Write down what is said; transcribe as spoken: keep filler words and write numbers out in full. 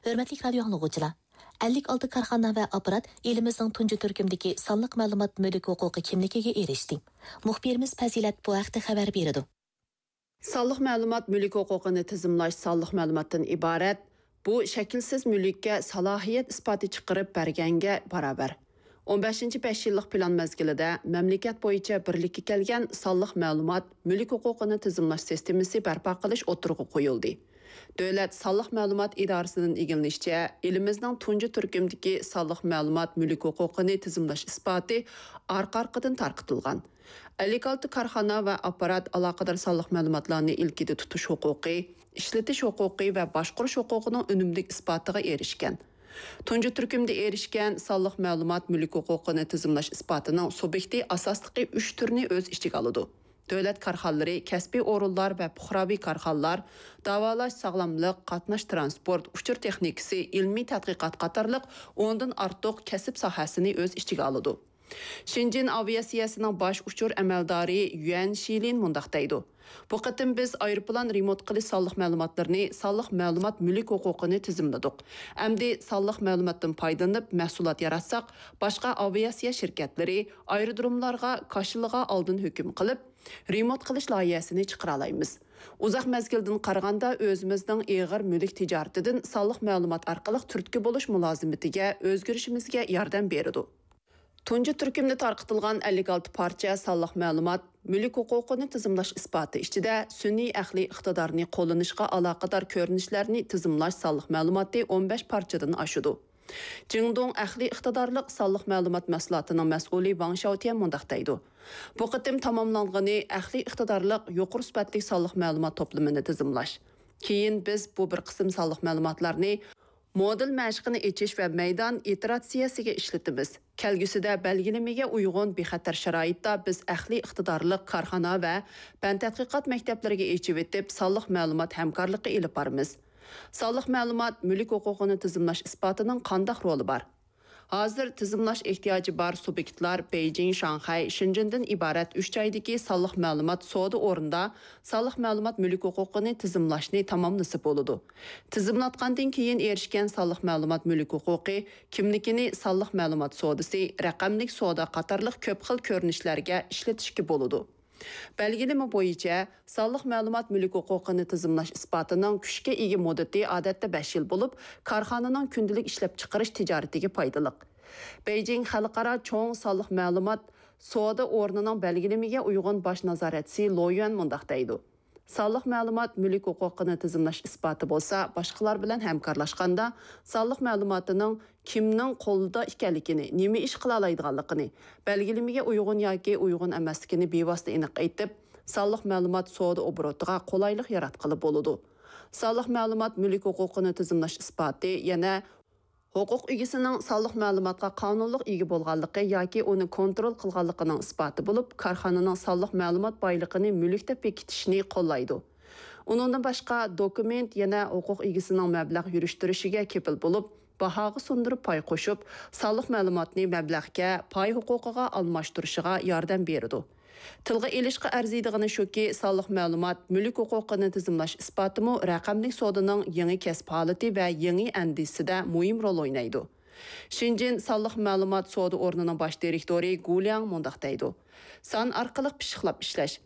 ھۆرمەتلىك رادىيو ئاڭلىغۇچىلار! ئەللىك ئالتە كارخانا ۋە ئاپپارات ئېلىمىزنىڭ تۇنجى تۈركۈمدىكى سانلىق مەلۇمات مۈلۈك ھوقۇقى كىملىكىگە ئېرىشتى. مۇخبىرىمىز پەزىلەت بۇ ھەقتە خەۋەر بېرىدۇ. سانلىق مەلۇمات مۈلۈك ھوقۇقىنى تىزىملاش سانلىق مەلۇماتتىن ئىبارەت. بۇ شەكىلسىز مۈلۈككە سالاھىيەت ئىسپاتى چىقىرىپ بەرگەنگە باراۋەر. ئون بەشىنچى بەش يىللىق پىلان مەزگىلىدە مەملىكەت بويىچە بىرلىككە كەلگەن سانلىق مەلۇمات مۈلۈك ھوقۇقىنى تىزىملاش سىستېمىسى بەرپا قىلىش ئوتتۇرىغا قويۇلدى. دۆلەت سانلىق مەلۇمات ئىدارىسىدىن ئىگىلىنىشىچە، ئېلىمىزنىڭ تۇنجى تۈركۈمدىكى سانلىق مەلۇمات مۈلۈك ھوقۇقىنى تىزىملاش ئىسپاتى ئارقا-ئارقىدىن تارقىتىلغان. ئەللىك ئالتە كارخانا ۋە ئاپپارات ئالاقىدار سانلىق مەلۇماتلارنى ئىلكىدە تۇتۇش ھوقۇقى، ئىشلىتىش ھوقۇقى ۋە باشقۇرۇش ھوقۇقىنىڭ ئۈنۈملۈك ئىسپاتىغا ئېرىشكەن. تۇنجى تۈركۈمدە ئېرىشكەن سانلىق مەلۇمات مۈلۈك ھوقۇقىنى تىزىملاش ئىسپاتىنىڭ سۇبيېكتى ئاساسلىقى ئۈچ تۈرنى ئۆز ئىچىگە ئالىدۇ. دۆلەت كارخانىلىرى، كەسپىي ئورۇنلار ۋە پۇقراۋى كارخانىلار، داۋالاش، ساغلاملىق، قاتناش، تىرانسپورت، ئۇچۇر تېخنىكىسى، ئىلمىي تەتقىقات قاتارلىق ئوندىن ئارتۇق كەسىپ ساھەسىنى ئۆز ئىچىگە ئالىدۇ. شېنجېن ئاۋىئاتسىيەسىنىڭ باش ئۇچۇر ئەمەلدارى يۈەن شىلىن مۇنداق دەيدۇ: بۇ قېتىم بىز ئايروپىلان رېمونت قىلىش سانلىق مەلۇماتلىرىنى سانلىق مەلۇمات مۈلۈك ھوقۇقىنى تىزىملىدۇق. ئەمدى سانلىق مەلۇماتتىن پايدىلىنىپ مەھسۇلات ياراتساق، باشقا ئاۋىئاتسىيە شىركەتلىرى ئايرودروملارغا كاشىلىغا ئالدىن ھۆكۈم قىلىپ، رېمونت قىلىش لايىھەسىنى چىقىرالايمىز. ئۇزاق مەزگىلدىن قارىغاندا، ئۆزىمىزنىڭ ئېغىر مۈلۈك تىجارىتىدىن سانلىق مەلۇمات ئارقىلىق تۈرتكە بولۇش مۇلازىمىتىگە ئۆزگىرىشىمىزگە ياردەم بېرىدۇ. تۇنجى تۈركۈمدە تارقىتىلغان ئەللىك ئالتە پارچە سانلىق مەلۇمات مۈلۈك ھوقۇقىنى تىزىملاش ئىسپاتى ئىچىدە سۈنئىي ئەقلىي ئىقتىدارنى قوللىنىشقا ئالاقىدار كۆرۈنۈشلەرنى تىزىملاش سانلىق مەلۇماتى ئون بەش پارچىدىن ئاشىدۇ. جىڭدۇڭ ئەقلىي ئىقتىدارلىق سانلىق مەلۇمات مەھسۇلاتىنىڭ مەسئۇلى ۋاڭ شياۋتيەن مۇنداق دەيدۇ: بۇ قېتىم تاماملانغىنى ئەقلىي ئىقتىدارلىق يۇقىرى سۈپەتلىك سانلىق مەلۇمات توپلىمىنى تىزىملاش. كېيىن بىز بۇ بىر قىسىم سانلىق مەلۇماتلارنى مودېل مەشىقىنى ئېچىش ۋە مەيدان ئىتېراتسىيەسىگە ئىشلىتىمىز. كەلگۈسىدە بەلگىلىمىگە ئۇيغۇن بىخەتەر شارائىتتا بىز ئەقلىي ئىقتىدارلىق كارخانا ۋە پەن تەتقىقات مەكتەپلىرىگە ئېچىۋېتىپ، سانلىق مەلۇمات ھەمكارلىقى ئېلىپ بارىمىز. سانلىق مەلۇمات مۈلۈك ھوقۇقىنى تىزىملاش ئىسپاتىنىڭ قانداق رولى بار؟ ھازىر تىزىملاش ئېھتىياجى بار سۇبيېكتلار بېيجىڭ، شاڭخەي، شېنجېندىن ئىبارەت ئۈچ جايدىكى سانلىق مەلۇمات سودا ئورنىدا سانلىق مەلۇمات مۈلۈك ھوقۇقىنى تىزىملاشنى تاماملىسا بولىدۇ. تىزىملاتقاندىن كېيىن ئېرىشكەن سانلىق مەلۇمات مۈلۈك ھوقۇقى كىملىكىنى سانلىق مەلۇمات سودىسى، رەقەملىك سودا قاتارلىق كۆپ خىل كۆرۈنۈشلەرگە ئىشلىتىشكە بولىدۇ. بەلگىلىمە بويىچە، سانلىق مەلۇمات مۈلۈك ھوقۇقىنى تىزىملاش ئىسپاتىنىڭ كۈچكە ئىگە مۇددىتى ئادەتتە بەش يىل بولۇپ، كارخانىنىڭ كۈندىلىك ئىشلەپچىقىرىش تىجارىتىگە پايدىلىق. بېيجىڭ خەلقئارا چوڭ سانلىق مەلۇمات سودا ئورنىنىڭ بەلگىلىمىگە ئۇيغۇن باش نازارەتچىسى لو يۈەن مۇنداق دەيدۇ: سانلىق مەلۇمات مۈلۈك ھوقۇقىنى تىزىملاش ئىسپاتى بولسا، باشقىلار بىلەن ھەمكارلاشقاندا، سانلىق مەلۇماتىنىڭ كىمنىڭ قولىدا ئىكەنلىكىنى، نېمە ئىش قىلالايدىغانلىقىنى، بەلگىلىمىگە ئۇيغۇن ياكى ئۇيغۇن ئەمەسلىكىنى بىۋاسىتە ئېنىق ئېيتىپ، سانلىق مەلۇمات سودا ئوبوروتىغا قولايلىق ياراتقىلى بولىدۇ. سانلىق مەلۇمات مۈلۈك ھوقۇقىنى تىزىملاش ئىسپاتى يەنە ھوقۇق ئىگىسىنىڭ سانلىق مەلۇماتقا قانۇنلۇق ئىگە بولغانلىقى ياكى ئۇنى كونترول قىلغانلىقىنىڭ ئىسپاتى بولۇپ، كارخانىنىڭ سانلىق مەلۇمات بايلىقىنى مۈلۈك دەپ بېكىتىشنى قوللايدۇ. ئۇنىڭدىن باشقا، دوكۇمېنت يەنە ھوقۇق ئىگىسىنىڭ مەبلەغ يۈرۈشتۈرۈشىگە كېپىل بولۇپ، باھاغا سۇندۇرۇپ پاي قوشۇپ، سانلىق مەلۇماتنى مەبلەغكە، پاي ھوقۇقىغا ئالماشتۇرۇشىغا ياردەم بېرىدۇ. تىلغا ئېلىشقا ئەرزىيدىغىنى شۇكى، سانلىق مەلۇمات مۈلۈك ھوقۇقىنى تىزىملاش ئىسپاتىمۇ رەقەملىك سودىنىڭ يېڭى كەسىپ ھالىتى ۋە يېڭى ئەندىزىسىدە مۇھىم رول ئوينايدۇ. شېنجېن سانلىق مەلۇمات سودا ئورنىنىڭ باش دىرېكتورى گۇ لياڭ مۇنداق دەيدۇ: سان ئارقىلىق پىششىقلاپ ئىشلەش.